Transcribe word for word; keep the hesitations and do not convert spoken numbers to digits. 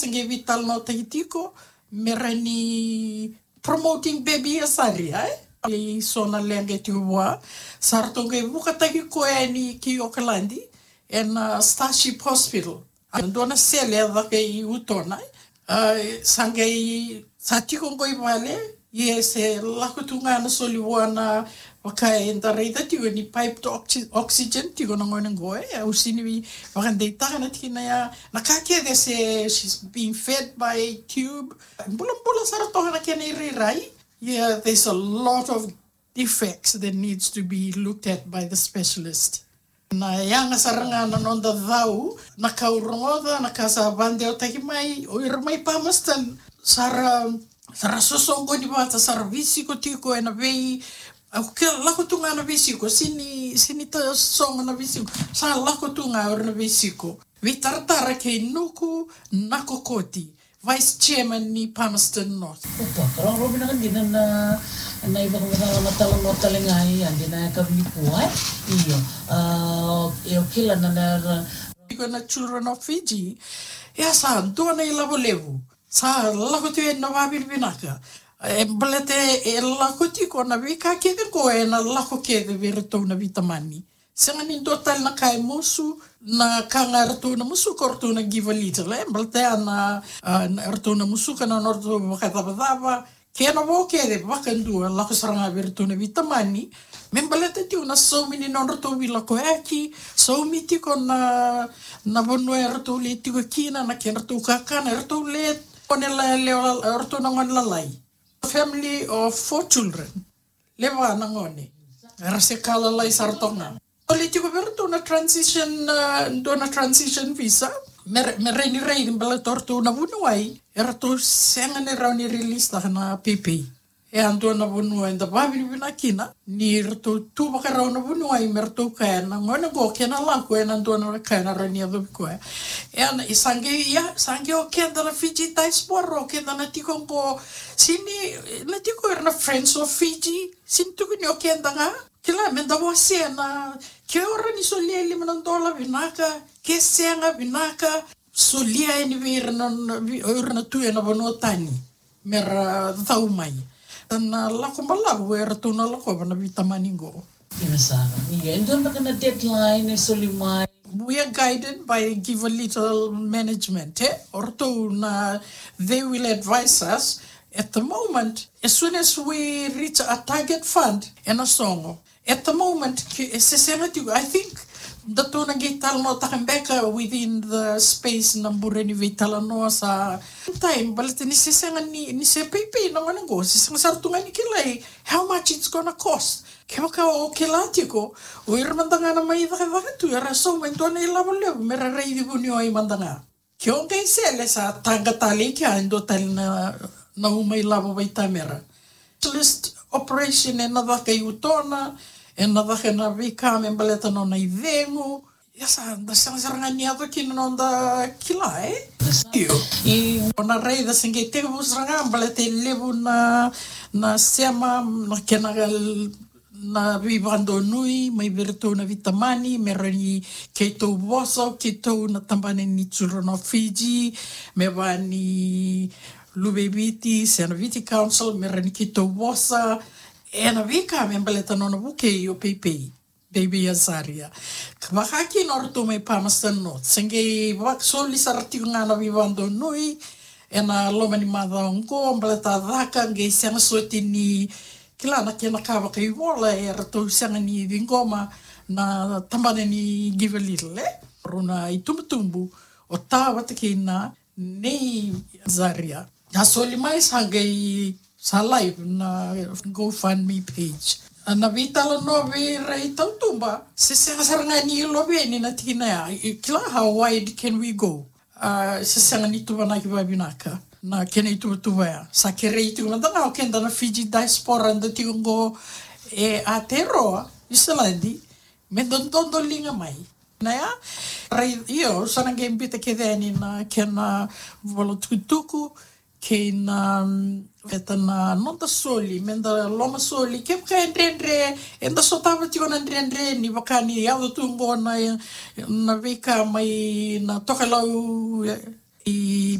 Sa qai veitalanoataki tiko me rawa ni promoting Baby Azaria, e? E so na leqa e tiko vua. Sa ratou qai vukataki koya yani ki Okaladi ena Starship Hospital. A dua na sele e caka i Utona, e? A, sa qai, sa tiko qo i vale, ia se lako tu ga na soli vua na, vaka eda raica tiko ni piped oxy-, oxygen tiko na gone qo, e? Au sini vakadeitaka na tikina ya, na ka kece se, she's being fed by tube. Bulabula sara toka na kena irairai. Yeah, there's a lot of defects that needs to be looked at by the specialist. Na yaga sara ga na noda cau, na ka au rogoca, na ka sa vakadewataki mai, o ira mai Palmerston, sa ra, sa ra sosoqoni vata, sa ra veisiko tiko ena vei, au ke lako tu ga na veisiko, sini, sini ta sogo na veisiko, sa lako tu ga o ira na veisiko. Veitaratara kei Nuku Nakokoti, Vice Chairman ni Palmerston North. Opa, ka rau vinaka dina na, na ivakamacala na talanoa tale ga e, a dina e ka vili kua, e? Io. A, e o kila na, na, na. Iko na Children of Fiji, e a sa dua na ilavo levu. Sa lako tu e na vavinavinaka. E baleta e lako tiko na veika kece qo e na lako kece vei iratou na veitamani. Sega ni dua tale na ka e musu, na ka ga eratou na musu ko ratou na Givealittle, e? Baleta ya na, a, na, eratou na musuka na nodratou vakacavacava, kena vo kece vakadua, lako sara ga vei iratou na veitamani, me baleta tiko na saumi ni nodratou veilakoyaki, saumi tiko na, na vanua eratou le tiko kina, na kedratou kakana, eratou le gone la, le, eratou na gone lalai. Family of four children. Le va na gone. Era se ka lalai sara toka ga. Soli tiko vei iratou na transition, a, dua na transition visa. Me, me rawa ni raici baleta o ratou na vuniwai, eratou sega ni rawa ni release taka na pepe. E a dua na vanua eda vavinavinaka kina ni ratou tu vakarau na vuniwai me ratou kaya na gone qo kena lako e na dua na ka e na rawa ni yacovi koya. E a na, e sa qai, ia, sa qai o keda na Fiji diaspora, o keda na tiko qo, sini, na tiko ira na Friends of Fiji, sini tukuni o keda ga. Kila, me da wasea na, ke o rawa ni solia e lima na dola vinaka, ke sega vinaka, solia yani vei ira na, na, vei, o ira na tu e na vanua tani, me ra cau mai. Na lako balavu e ratou na lakova na veitamani qo. Io sara. Ia, e dua beka na deadline e soli mai? We are guided by Givealittle management, e? O ratou na, they will advise us. At the moment, as soon as we reach a target fund, e na sogo. At the moment, ke, e se sega tiko, I think, datou na qai talanoataka beka within the space na bure ni veitalanoa sa time, baleta ni se sega ni, ni se peipei na gone qo, se sega sara tu ga ni kilai how much it's gonna cost. Kevaka o kila tiko, o ira mada ga na mai cakacaka tu, era sauma e dua na ilavo levu, me ra raici vuniwai mada ga. Ke o qai sele sa taqa tale i kea e dua tale na, na uma ilavo vaitamera. Specialist operation e na caka i Utona, e na caka na veika me baleta nona icegu. Ia sa, da sega sara ga ni yaco kina noda kila, e? Io. I, o na raica se qai tekivu sara ga baleta e levu na, na sema, na kena na veivakadonui mai vei iratou na veitamani, me rawa ni keitou vosa, keitou na tabana ni Children of Fiji, me vaka ni Luve i Viti, se na Viti Council, me rawa ni keitou vosa e na veika me baleta nona vukei o peipei, Baby Azaria. Ka vaka kina o ratou mai Palmerston North, se qai vakasoli sara tiko ga na veivakadonui e na loma ni macawa oqo, baleta caka qai sega soti ni kila na kena ka vakaivola, e ratou sega ni ciqoma na tabana ni Givealittle, e? Rau na itubutubu o Ta vata kei na Nei Azaria. Na soli mai sa qai sa live na GoFundMe page. Na veitalanoa vei ira i tautuba, se sega sara ga ni iloveni na tikina ya. I, kila, how wide can we go? A, se sega ni tuvanaki vavinaka na kena ituvatuva ya. Sa kerei tiko mada ga o keda na Fiji diaspora da tiko qo e Aotearoa, Niusiladi, me da dodoliga mai. Na ya, rai, io, sa na qai bita kece yani na kena vola tukutuku, kei na, mm, veta na noda soli, me da loma soli, kevaka e dredre, eda sotava tiko na dredre, ni vaka ni yaco tu qo na, na veika mai na tokalau, e, i